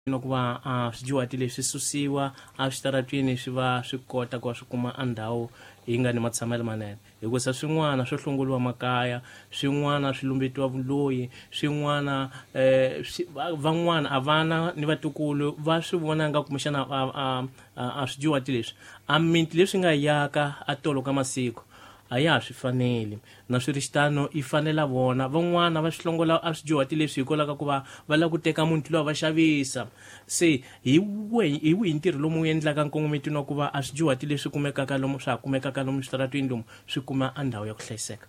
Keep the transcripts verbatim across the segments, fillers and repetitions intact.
Ku va a swidyuhati leswi susiwa a switaratwini swi va swi kota ku va swi kuma a ndhawu yi nga ni matshamelo manene, hikusa swin'wana swo hlongoliwa makaya, swin'wana swi lumbetiwa vuloyi, swin'wana um van'wana a vana ni vatukulu va swi vona nga kumbexana a a swidyuhati leswi a miti leswi nga yaka a tolo ka masiku a ya ha swi faneli. Na swi ri xitano yi fanela vona van'wana va swi hlongola a swidyuhati leswi hikwalaho ka ku va va lava ku teka muti luwa va xavisa. Se hi wihi hi wihi ntirho lomu wu endlaka nkongometweni wa ku va a swidyuhati leswi kumekaka lomu swa ha kumekaka lomu switaratwini lomu swi kuma a ndhawu ya ku hlayiseka?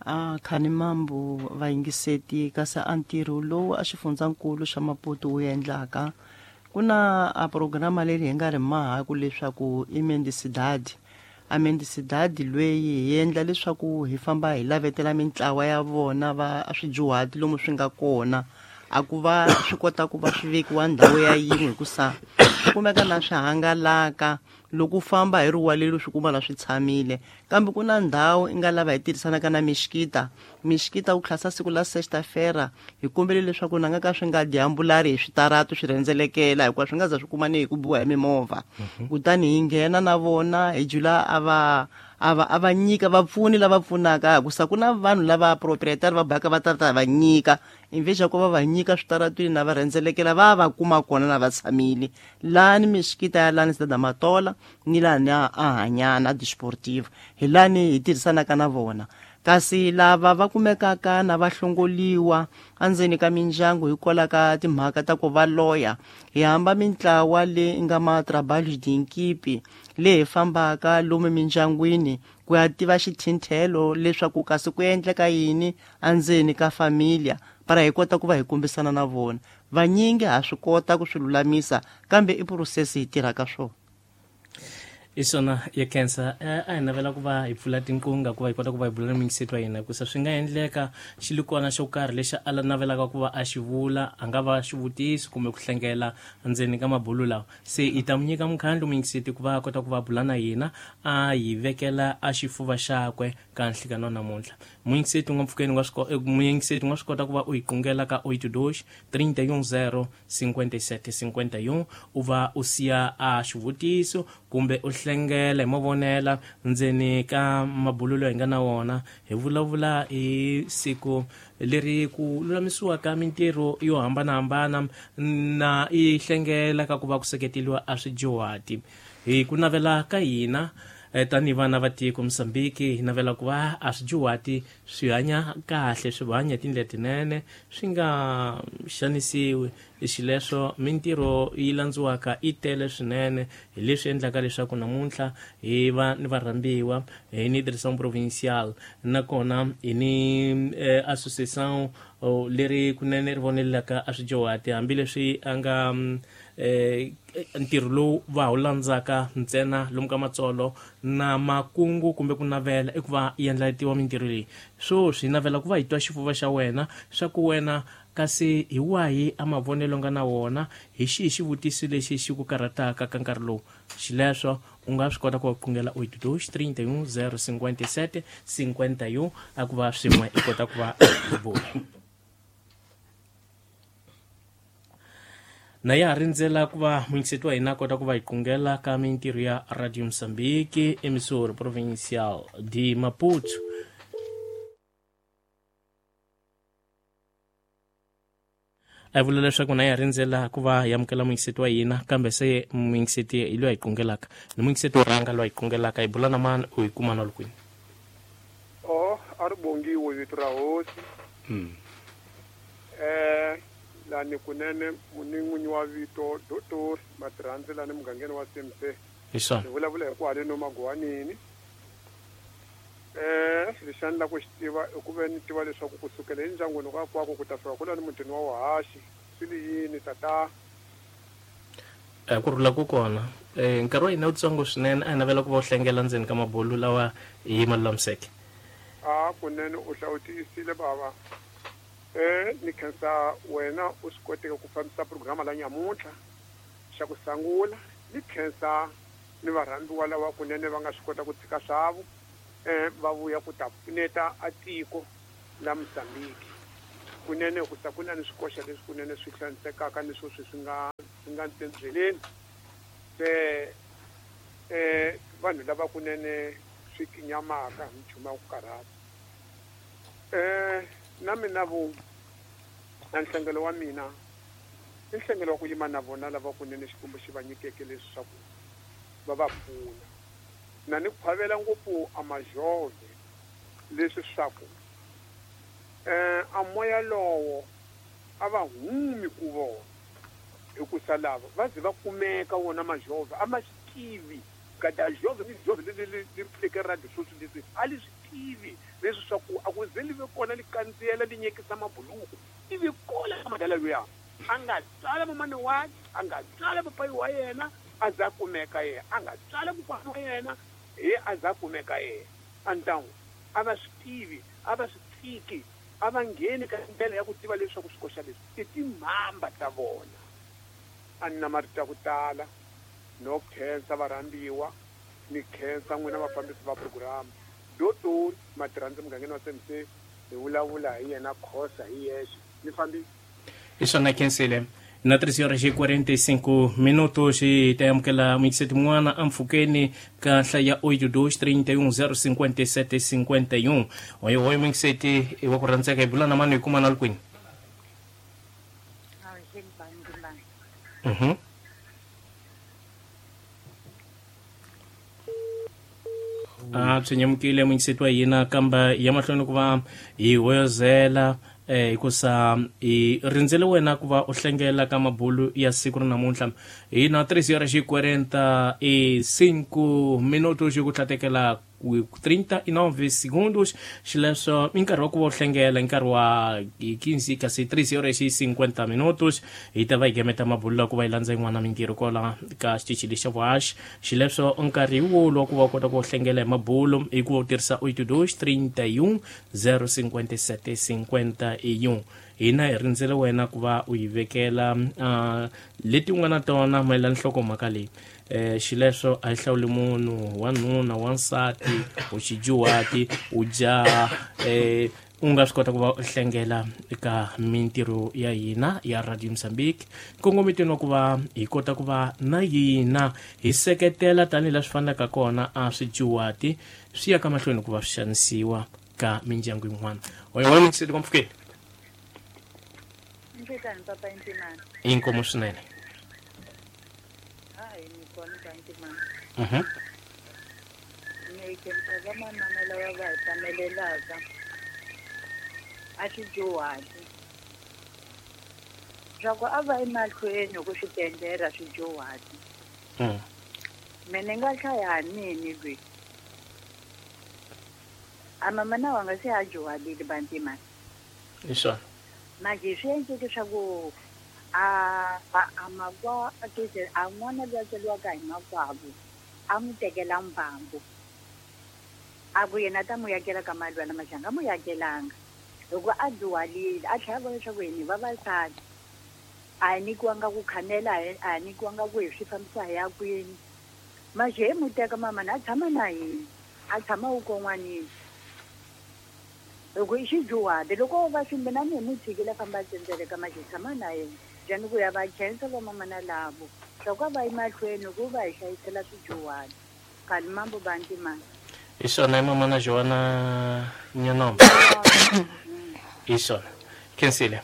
A khani mambu vayingiseti, kasi a ntirho lowu a xifundzankulu xa Maputo wu endlaka, ku na a programa leri hi nga ri mahaku leswaku i Mendicidade. A Mendicidade lweyi hi endla leswaku hi famba hi lavetela mintlawa ya vona va swidyuhati lomu swi nga kona, a ku va swi kota ku va swi vekiwa ndhawu ya yin'we, hikusa swi kumeka na swi hangalaka loko u famba hi riwa leri swi kuma na swi tshamile. Kambe ku na ndhawu i nga lava hi tirhisanaka na mixikita mixikita ku tlhasa siku la sexta-feira, hi kombele leswaku na nga ka swi nga dyambulari hi switaratu swi rhendzelekela, hikuva swi nga za swi kuma ni hi ku biwa hi mimovha. Kutani hi nghena na vona hi jula a va a va a va nyika vapfuni lava pfunaka, hikusa ku na vanhu lava proprietary va baka va ta ta va nyika invesha ku va va nyika switaratwini na va rhendzelekela va va kuma kona na va tshamile lani mixikita ya lani Cidade Matola ni lani a Hanyana Desportivo, hi lani hi tirhisanaka na vona. Kasi lava va kumekaka na va hlongoliwa endzeni ka mindyangu hikwalaho ka timhaka ta ku va loya, hi hamba mintlawa leyi nga ma trabalhos de equipe leyi hi fambaka lomu mindyangwini ku ya tiva xithinthelo leswaku kasi ku endleka yini endzeni ka familia, para hi kota ku va hi kombisana na vona. Vanyingi ha swi kota ku swi lulamisa, kambe i process hi tirhaka swona. I swona ya khensa. A hi navela ku va hi pfula tinqunga ku va hi kota ku va hi bula na muyingiseti wa hina, hikusa swi nga endleka xilikwana xo karhi lexi a navelaka ku va a xi vula, a nga va xivutiso kumbe ku hlengela ndzeni ka mabulu lawa. Se hi ta mu nyika mukhandlu muyingiseti ku va a kota ku va bula na hina, a hi vekela a xifuva xakwe ka nhlikano namuntlha. Muyingiseti u nga mpfhukeni u nga swi muyingiseti u nga swi kota ku va u hi qungela ka oito dois trinta e um zero cinquenta e sete cinquenta e um, u va u siya a xivutiso kumbe u hlengela hi mavonela ndzeni ka mabulu loyi hi nga na wona. Hi vulavula hi siku leri ku lulamisiwaka mintirho yo hambanahambana na i hlengela ka ku va ku seketeliwa a swidyuhati. Hi ku navela ka hina tanihi vana va tiko Mozambique, hi navela ku va a swidyuhati swi hanya kahle, swi hanya hi tindlela tinene, swi nga xanisiwi. Xileswo mintirho yi landziwaka yi tele swinene, hi leswi endlaka leswaku namuntlha hi va ni varhambiwa hi ni Direção Provincial, nakona hi ni eh, associação leri kunene ri vonelaka a swidyuhati, hambileswi a nga eh ntirho lowu va wu landzaka ntsena lomu ka matsolo na makungu kumbe ku navela i ku va yi endlatiwa mintirho leyi. Swoswi hi navela ku va hi twa xifuva xa wena swa ku wena kasi hi wahi a mavonelo nga na wona, hi xihi xivutiso lexi xi ku karhataka ka nkarhi lowu. Xileswo u nga swi kota ku va qungela oito dois trinta e um zero cinquenta e sete cinquenta e um, a ku va swin'we i kota ku va hi bula. Na ya ha rindzela ku va muyingiseti wa hina a kota ku va hi qungela ka mintirho ya Radio Mozambique, emissora provincial de Maputo. A hi vula leswaku na ya rindzela ku va hi amukela muyingiseti wa hina, kambe se muyingiseti hi loyi a hi qungelaka ni muyingiseti wo rhanga loyi a hi qungelaka. Hi bula na mani, u hi kuma na kwini? Oh, a ri bongiwe vito ra hosi. Eh lani kunene ni n'winyi wa vito Doctor Matirhandzi lani mugangeni wa C M C. Hi swona. Ni vulavula hi kwaleno Magwanini. Eh lexi a ni lava ku xi tiva i ku ve ni tiva leswaku kusukela endyangwini ka kwako ku ta fika kwalani mutini wa Wahaxi swi li yini tata? Eh ku rhula ku kona. Eh nkarhi wa hina wutsongo swinene, a hi navela ku va u hlengela ndzeni ka mabulu lawa hi ma lulamiseke. A kunene u hlawutisile bava. Eh ni khensa wena u swi koteke ku fambisa programa la nyamuntlha xa ku sangula, ni khensa ni varhambiwa lava kunene va nga swi kota ku tshika swavo eh va vuya ku ta pfuneta a tiko la Mozambique. Kunene ku sa ku na ni swikoxa leswi kunene swi hlansekaka ni sweswi swi nga swi nga ndleleni se eh vanhu lava kunene swi kinyamaka hi nchumu wa ku karhata eh na mina vo na nhlengelo wa mina i nhlengelo wa ku yima na vona lava kunene Xikwembu xi va nyikeke leswaku va va pfuna na ni khwavela ngopfu a majove leswi swaku eh a moya lowo a va humi ku vona hikusa lava va ze va kumeka wona majove a ma swi tivi kada jove ni jove le le le pfuleke radio sweswi leswi a li swi tivi leswi swa ku a ku ze li ve kona li kandziyela li nyekisa mabuluku i ve kona madala luya a nga tsala mamani wa a nga tsala papayi wa yena a za kumeka yena a nga tsala kokwana wa yena he a za kumeka yena antangu a va swi tivi a va swi tiki a va ngheni ka ndlela ya ku tiva leswaku swikoxa leswi i timhamba ta vona a ni na marito ya ku tala no khensa varhambiwa ni khensa n'wina vafambisi va program dotori matirhandzi mugangeni wa C M C hi vulavula hi yena Khosa hi yexe ni fambi hi swona khensile na três horas e quarenta e cinco minutos e ta amukela muyingiseti mun'wana empfhukeni ka nhlaya ya oito dois trinta e um zero cinquenta e sete cinquenta e um oyo oyo muyingiseti wa ku rhandzeka hi bula na mani hi kuma na li kwini mhm a byi nyamukile muyingiseti wa hina kamba ya mahlweni ku va hi hoyozela eh hikusa hi rindzele wena ku va u hlengela ka mabulu ya siku ra namuntlha hi na três horas e quarenta e cinco minutos ku tlatekela trinta e nove segundos xileswo i nkarhi wa ku va u hlengela i nkarhi wa quinze kasi três horas e cinquenta minutos hi ta va hi gemeta mabulu la ku va hi landza yin'wana mintirho kwala ka xitichi lexa vuhaxi xileswo nkarhi hi wolu wa ku va u kota ku hlengela hi mabulu hi ku va u tirhisa oito dois trinta e um zero cinquenta e sete cinquenta e um hina hi rindzele wena ku va u yi vekela uh, leti u nga na tona mayelana nhlokomhaka leyi eh xileswo a yi hlawuli munhu wanuna wansati u xijuhati u jaha eh u nga swi kota ku va u hlengela eka mintirho ya hina ya Radio Mozambique nkongometweni wa ku va hi kota ku va na hina hi seketela tanihi swi fanelaka kona a swijuhati swi ya ka mahlweni ku va swi xanisiwa ka mindyangu yin'wana oyo wa muyingiseti mpfhukeni Nhlekani papa Ntimana. Inkomo swinene. Hayi ni kona ka Ntimana. Mhm. Ni khensa vamanana lava va hi tamelelaka a swijuhati swa ku a va emahlweni ku swi tendela swijuhati. Mm. Mina ni nga hlaya nini lwi a mama na wanga se a juhalile ba Ntimana. Hi swona. Manje swi endleke leswaku a a makwa a kese a n'wana loyi a tswariwaka hi makwavo a n'wi tekela mbangu a ku yena a ta n'wi yakela ka malwana maxi a nga n'wi yakelanga hikuva a dyuhalile a tlhela a vona leswaku hina hi vavasati a hi nyikiwanga ku khanela a hi nyikiwanga ku hi swi fambisa hi ya kwini maxi hi n'wi teka mama na a tshama na hina a tshama wukon'wanini loko i xidyuhati loko va swi mina ni hi n'wi tshikile a famba a tsendzeleka maxi tshama na yena njhani ku ya va khensa vamamana lavo swa ku a va emahlweni ku va hi hlayisela swidyuhati khale mambo ba Ntimana hi swona i mamana Joana Nyanomba hi swona khensile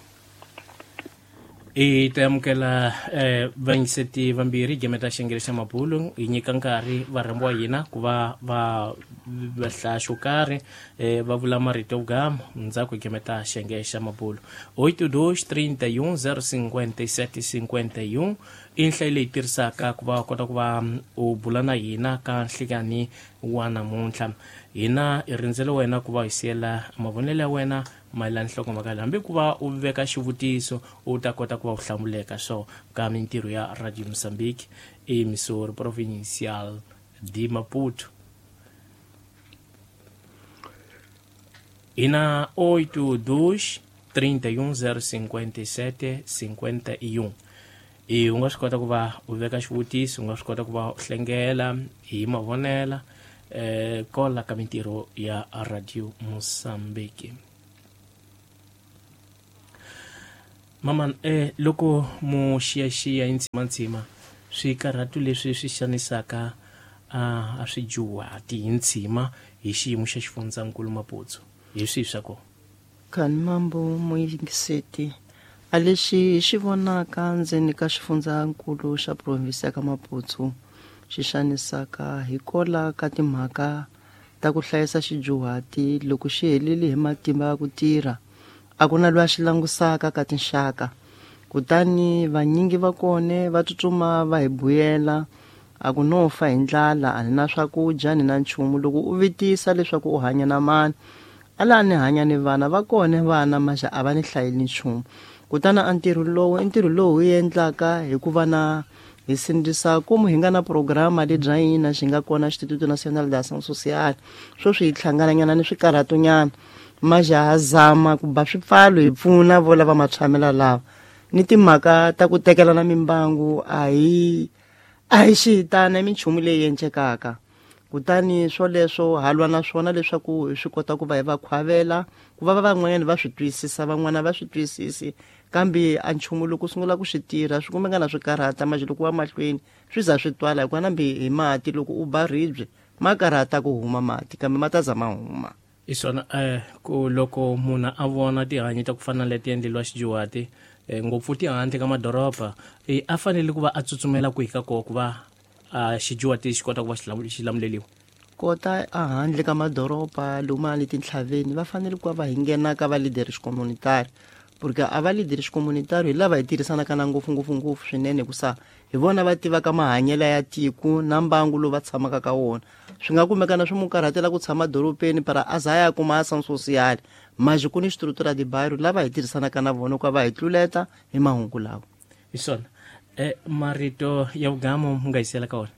i ta amukela eh vayingiseti vambirhi gemeta xengele xa mabulu hi nyika nkarhi varhambiwa hina ku va va va hlaya xo karhi eh va vula marito yo gama ndzhaku hi gemeta xenge xa mabulu oito dois trinta e um zero cinquenta e sete cinquenta e um i nhlayo leyi tirhisaka ku va kota ku va u bula na hina ka nhlikani wa namuntlha hina hi rindzele wena ku va hi siyela mavonelo ya wena mayelana nhlokomhaka leyi hambi ku va u veka xivutiso u ta kota ku va u hlamuleka swo ka mintirho ya Radio Mozambique emissora provincial de Maputo hina oito dois trinta e um zero cinquenta e sete cinquenta e um e u nga swi kota ku va u veka xivutiso u nga swi kota ku va u hlengela hi mavonela eh kola ka mintirho ya Radio Mozambique. Mama eh loko mo xiyaxiya intshima swikarhatu leswi swi xanisaka a a swijuwati hi ntshima hi xiyimo xa xifundzankulu Maputo hi swihi swa kona? Khani mambo muyingiseti a lexi xi vonaka ndzeni ka xifundzankulu xa provinsi ya ka Maputo xi xanisaka hikola ka timhaka ta ku hlayisa xijuwati loko xi helile hi matimba ya ku tirha a ku na loyi a xi langusaka ka tinxaka kutani vanyingi va kone va tsutsuma va hi buyela a ku no fa hi ndlala a ni na swakudya ni na nchumu loko u vitisa leswaku u hanya na mani ala ni hanya ni vana va kone vana maxa a va ni hlayeli nchumu kutani a ntirho lowu i ntirho lowu hi endlaka hikuva na hi sindzisa komu hi nga na programa lebya hina xi nga kona Instituto Nacional de Ação Social sweswi hi hlangananyana ni swikarhatonyana maxa ha zama ku ba swipfalo hi pfuna vo lava matshamela lava ni timhaka ta ku tekelana mimbangu a hi a hi xihitana i minchumu leyi endlekaka kutani swoleswo ha lwa na swona leswaku hi swi kota ku va hi va khwavela ku va van'wanyana va swi twisisa van'wana va swi twisisi kambe a nchumu loko u sungula ku swi tirha swi kumeka na swi karhata maje loko wa mahlweni swi za swi twala hikuva nambi hi mati loko u ba ribye ma karhata ku huma mati kambe ma ta za ma huma. I swona eh ku loko munhu a vona tihanyi ta ku fana na leti endleriwa xijuwati ngopfu tihandle ka madoroba a fanele ku va a tsutsumela kwihi ka kona ku va a xijuwati xi kota ku va xi lamuleliwa? Kota a handle ka madoroba lomu le tintlhaveni va fanele ku va va hi nghena ka va leadership communitary porque a va leadership communitary hi lava hi tirhisanaka na ngopfu ngopfu ngopfu swinene hikusa hi vona va tivaka mahanyelo ya tiko na mbangu lowu va tshamaka ka wona swi nga kumeka na swi mu karhatela ku tshama dorobeni para a za ya kuma ação social maje ku ni estrutura de bairro lava hi tirhisanaka na vona ku va hi tluleta hi mahungu lawa. Hi swona eh marito ya vugamo mu nga yisela ka wona?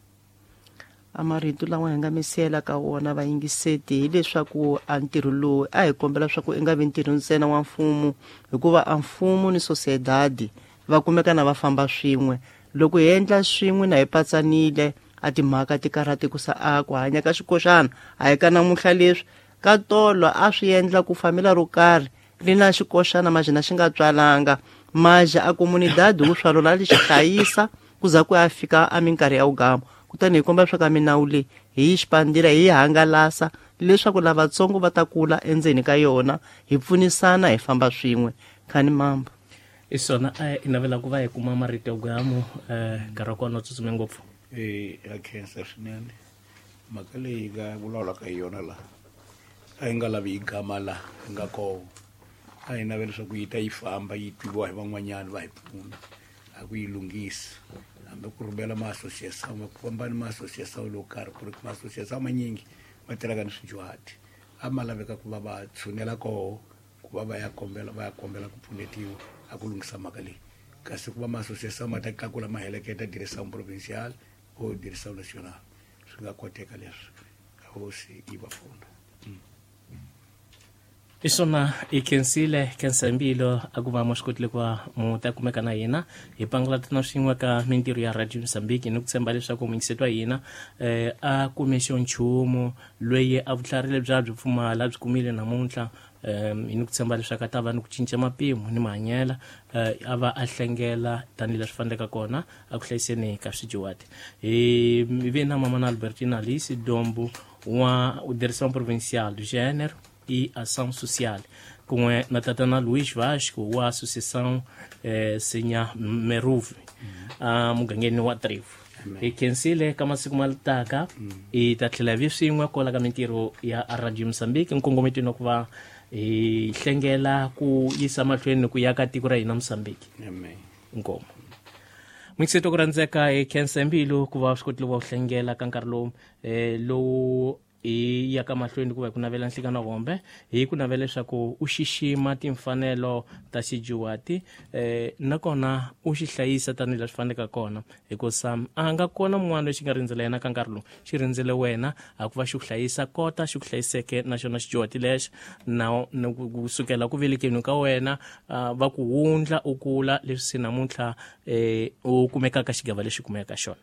A marito lawa hi nga misela ka wona vayingiseti hileswaku a ntirho lowu a hi kombela swa ku i nga vi ntirho ntsena wa mfumo hikuva a mfumo ni sociedade va kumeka na va famba swin'we loko hi endla swin'we na hi patsanile a timhaka ti karhati ku sa a ku hanya ka xikoxana a hi ka namuntlha leswi ka tolo a swi endla ku famila ro karhi ri na xikoxana maje na xi nga tswalanga maje a comunidade wu swalola li xi hlayisa ku za ku ya fika a minkarhi ya wugama kutani hi komba leswaku a minawu leyi hi yi xipandila hi yi hangalasa leswaku lavatsongo va ta kula endzeni ka yona hi pfunisana hi famba swin'we. Khani mambo i swona i navela ku va hi kuma marito ya vugamo nkarhi wa kona wu tsutsume ngopfu. E ya khensa swinene mhaka leyi hi nga vulavulaka hi yona laha a yi nga lavi hi gama laha hi nga koho a hi navela leswaku yi ta yi famba yi twiwa hi van'wanyana va hi pfuna a ku yi lunghisa hambi ku rhumela ma-association ku famba ni ma-association lowo karhi ku ri ma-association manyingi ma tirhaka ni swijuhati a ma laveka ku va va tshunela koho ku va va ya kombela va ya kombela ku pfunetiwa a ku lunghisa mhaka leyi kasi ku va ma-association ma ta tlakula ma heleketa direction provincial or direction national swi nga koteka leswi hosi yi va pfuna. I swona i khensile khensa mbilo a ku va mo swi kotile ku va mu ta kumeka na hina hi pangalatana swin'we ka mintirho ya Radio Mozambique ni ku tshemba leswaku muyingiseti wa hina eh a kume xo nchumu loyi a vutlhari lebyi a byi pfumala byi kumile namuntlha um hi ni ku tshemba leswaku a ta va ni ku cinca mapimo ni mahanyela a va a hlengela tanihileswi faneleke kona a ku hlayiseni ka swijuwati. Hi ve na mama na Albertina Alice Dombo wa Direção Provincial do Gênero e Ação Social kun'we na tatana Luís Vasco wa Associação eh, Senha Meruve a mugangeni wa Trevo. Hi khensile ka masiku ma taka hi ta tlhela vi swin'we kwala ka mintirho ya Radio Mozambique nkongometweni wa ku va hi hlengela ku yisa mahlweni ku ya ka tiko ra hina Mozambique. Inkomu muyingiseti ku rhandzeka hi khensa mbilu ku va swi kotile ku va u hlengela ka nkarhi lowu eh, lowu hi ya ka mahlweni ku va hi ku navela nhlikano hombe hi ku navela leswaku u xixima timfanelo ta xijuwati eh nakona u xi hlayisa tanihileswi faneleke kona hikusa a nga kona mun'wana lexi nga rindzela yena ka nkarhi lowu xi rindzele wena a ku va xi ku hlayisa kota xi ku hlayiseke na xona xijuwati lexi na kusukela ku velekeni ka wena va ku wundla u kula leswi se namuntlha eh u kumekaka xigava lexi kumekaka xona.